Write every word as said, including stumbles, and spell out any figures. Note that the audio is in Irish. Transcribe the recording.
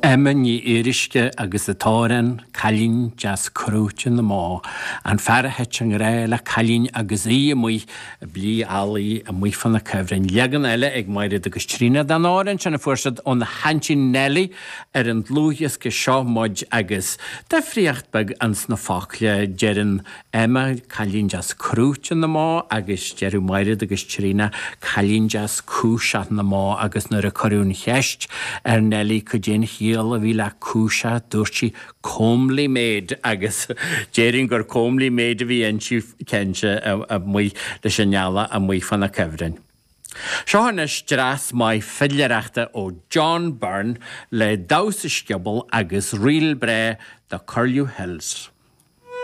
Emma Ní Fhíoruisce agus an t-amhrán Cailín Deas Crúite na mBó, an fear a thit i ngrá le cailín agus í amuigh ag blí eallaigh amuigh fá na cuibhrinn. Leagan eile ag Mairéad agus Tríona den amhrán sin a fuair siad óna haintín Nellie ar an dlúthdhiosca Seo Muid agus difríocht beag ins na focla deireann Emma cailín deas crúite na mbó agus deireadh Mairéad agus Tríona cailín deas cúiseach na mbó agus nuair a cuireadh an cheist ar Nellie cad é an chiall a bhí le cúiseach dúirt sí comely maid agus déarfainn gur comely maid a bhí inti cinnte amuigh leis an eallach amuigh fá na cuibhrinn. Seo anois dreas maith fidléireachta ó John Byrne le Damhsa Scioból agus ríl breá The Curlew Hills.